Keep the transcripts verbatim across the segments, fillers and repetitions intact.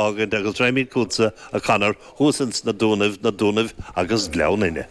fhágaint agus raghaimid chugatsa a Conor thuas ins na Dúnaibh na Dúnaibh agus Gleann Fhinne.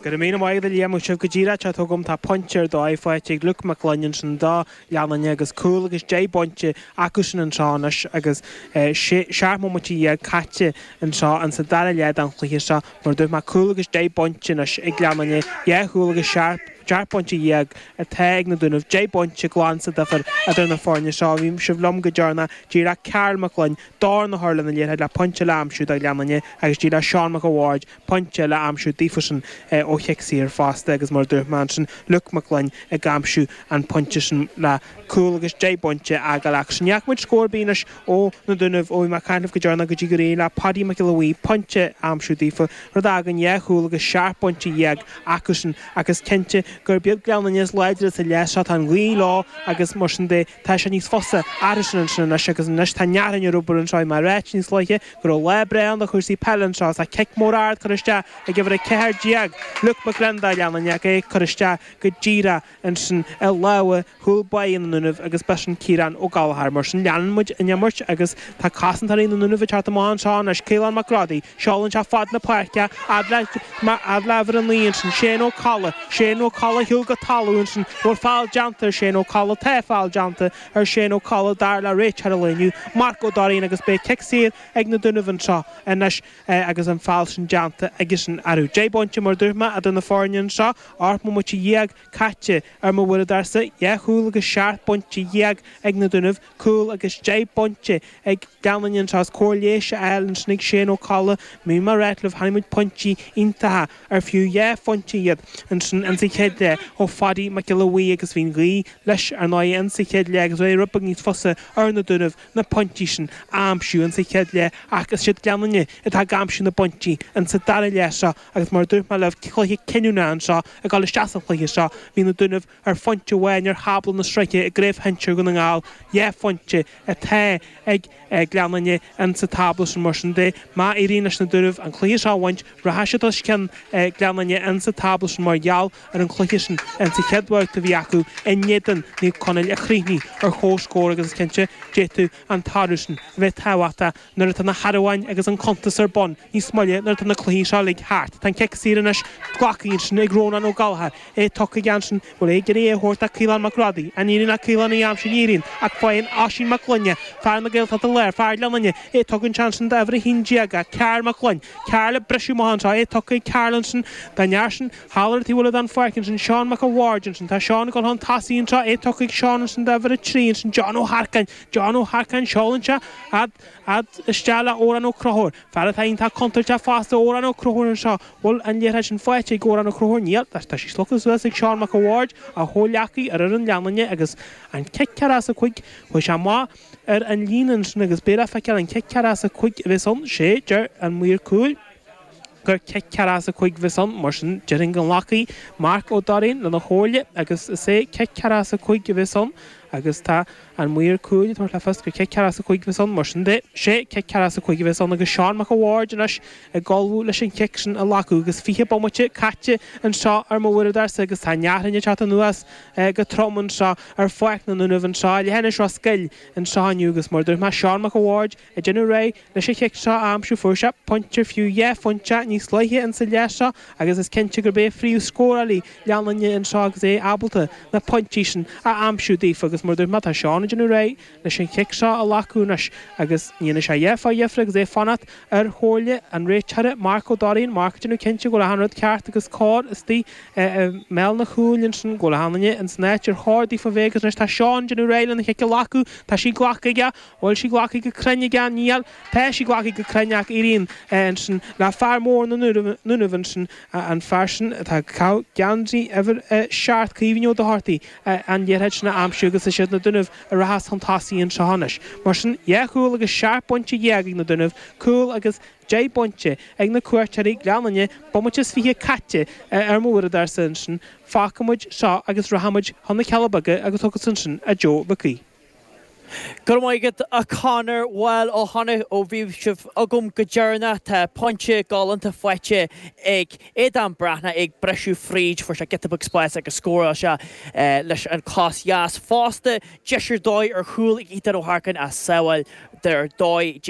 Go raibh míle maith agat a Liam sibh go díreach tá agam tá pointe ar dóigh faighte ag Luke Mac Gloinn sin do Ghleann Fhinne agus cúl agus deich bpointe acu sin anseo anois agus seacht mbomaite dhéag caite anseo an sa dara leath den chluiche seo mar dúirt mé cúl agus deich bpointe anois ag Gleann Fhinne dhá chúl agus seacht bpointe dhéag atá ag na Dúnaibh deich bpointe glan sa difear idir na foirne seo bhí sibh liom go deireanach díreach Karl Mac Gloinn dorn a chur lena liathróid le pointe le aimsiú do Ghleann Fhinne agus díreach Seán Mac a' Bhaird pointe le aimsiú daofa ó chic saor fosta agus mar dúirt mé ansin Luke Mac Gloinn ag aimsiú an pointe sin le cúl agus deich bpointe agal ach sin neachmuid scór bínis ó na Dúnaibh ó má caiineh go dearna go dtí go réidh le Paddy Mac Giolla Bhuí pointe aimsiú daofa rud a fhágann dhá chúl agus seacht bpointe dhéag acu sin agus cinnte gur beag Gleann Fhinne is láidre sa leath seo tá an ghaoth leo agus mar sin de tá sé níos fusa air sin ansin anois agus anois tá nearan ar obair anseo mar réit níos luaithe go raibh lá breá do chúrsaí peile anseo tá cic mór ard curtha isteach ag uimhir a ceathair déag Luke Mac Gloinn do Ghleann Fhinne é curtha isteach go díreach ansin i lámha chúl báire na nDúnaibh agus b'shin Ciarán Ó Gallchóir mar sin leanann muid an imirt agus tá cosantóirí na nDúnaibh ag teacht amach anseo anois Caolán Mac Rodaí seolann sé fad na páirce fhad le uimhir a naoi ansin Shane Ó Colla Shane Ó Colla shiúl go talamh ansin bhfuil feall déanta ar Shane Ó Colla tá feall déanta ar Shane Ó Colla dar le réiteoir an lae inniu Marc Ó Dairín agus beidh cic saor ag na Dúnaibh anseo anois agus an feall sin déanta agus an arú. Deich bpointe mar dúirt mé idir na foirne anseo ocht mbomaite dhéag caite ar mo bhualadar-sa dhá chúl agus seacht bpointe dhéag ag na Dúnaibh cúl agus deich bpointe ag Gleann Fhinne anseo is cóir léis a fháil ansin ag Shane Ó Colla mí mar réitlah tháinig muid pointí iontacha ar fiú dhá phointe iad ansin an sa chéad leath ó Phaddy Mac Giolla Bhuí agus bhí'n ghaoth leis ar ndóigh an sa chéad leath agus rud beag níos fusa ar na Dúnaibh na pointí sin aimsiú an sa chéad leath ach is siad Gleann Fhinne atá ag aimsiú na bpointí an sa dara leath seo agus mar dúirt mé libh cluiche cinniúna anseo ag dul isteach sa chluiche seo bhí na Dúnaibh ar phointe amháin ar thábla na sraithe i gcraobh shinsir Dhún na nGall dhá phointe atá ag Gleann Fhinne an sa tábla sin mar sin de má éiríonn leis na Dúnaibh an cluiche seo a bhaint rachaidh siad os cionn Gleann Fhinne an sa tábla sin mar gheall ar an chluiche sin an sa chéad bhabhta a bhí acu in éadan Naomh Conaill a chríochnaigh ar chomhscór agus is cinnte d'fhéadfadh an toradh sin a bheith tábhachtach nuair atá na haraháin agus an cuntas ar bun níos moille nuair atá na cluichí seo uilig thart. Tá an cic saor anois glactha sin ag Rónán Ó Gallchóir é tugtha ansin bhfuil é ag é a thabhairt Caolán Mac Rodaí an éiríonn Caolán í am sin éiríonn ach faigheann Oisín Mac Gloine fear na Gaeltachta Láir fear Ghleann Fhinne é tugann sean d'uimhir a haon déag Cearl Mac Gloine Cearl le briseadh amach anseo é tugtha Cearl ansin den fhear sin thall ar taobh den pháirc ansin Seán Mac a Bhaird ansin tá Seán ag dul chun tosaigh anseo é tugtha ag Seán ansin d'uimhir a trí ansin John Ó Harcáin John Ó Harcáin seolann sé fhad fhad isteach le Órán Ó Conchúir fear atá iontach contúirteach fosta Órán Ó Conchúir anseo bhfuil an liathróid sin faighte ag Órán Ó Conchúir níl tá sí slogtha suas ag Seán Mac a Bhaird a chomhghleacaí ar fhoireann Ghleann Fhinne agus an cic ceathracha is a cúig chuaigh sé amach ar an líne ansin agus b'fhéidir feiceáil an cic ceathracha is a cúig a bheas ann sé deir an maor cúil gur cic ceathracha is a cúig a bheas ann mar sin déarfainn go nglacfaidh Marc Ó Dairín lena chomhairle agus is é cic ceathracha is a cúig a bheas ann agus tá an maor cúil tar le fios gur cic ceathracha is a cúig a bheas ann mar sin de sé cic ceathracha is a cúig a bheas ann agus Seán Mac a Bhaird anois ag ullmhú leis an chic sin a ghlacadh agus fiche bomaite caite anseo ar mo bhualadar-sa agus tá neathrainne teacht anuas go trom anseo ar pháirc na nDúnaibh anseo leithinis Ros Goill anseo inniu agus mar dúirt mé Seán Mac a Bhaird ag déanamh réidh leis an chic seo a aimsiú fuair sé pointe fiú dhá phointe níos luaithe in sa leath seo agus is cinnte gurb é phríomhscórálaí Ghleann Fhinne anseo agus é ábalta na pointí sin a aimsiú daofa agus mar dúirt mé tá Seán ag déanamh réidh leis an chic seo a ghlacadh anois agus ní sé dhá fá dhifre agus é fanacht ar chomhairle an réiteora Marc Ó Dairín Marc ag déanamh cinnte go bhfuil an rud ceart agus cóir istigh i mbéal na cúil ansin go bhfuil achan duine in san áit ar chóir daofa bheith agus anois tá Seán ag déanamh réidh lena chic a ghlacadh tá sí glactha aige bhfuil sí glactha go cruinn aige níl tá sí glactha go cruinn ach éiríonn ansin le fear mór na nDúnaibh ansin an fear sin atá geansaí uimhir seacht Caoimhín Ó Dochartaigh an liathróid sin a aimsiú agus is siad na Dúnaibh a rachas chun tosaigh anseo anois. Mar sin dhá chúl agus seacht bpointe dhéag ag na Dúnaibh, cúl agus deich bpointe ag na cuairteoirí Gleann Fhinne bomaite is fiche caite ar mo bhualadar-sa ansin fágfaimid seo agus rachaimid chun na Cealla Beaga agus thugas ansin a Joe Mhic Aoidh. Go raibh maith agat a Conor bhuel ó tháinig ó bhí sibh agam go deireanach tá pointe galánta faighte ag Aodán Breathnach ag briseadh fríd fuair sé giota beag spás agus scóráil sé leis an cos dheas fosta deis ar dóigh ar chúl ag Ethan Ó hEarcáin as sábháil ar dóigh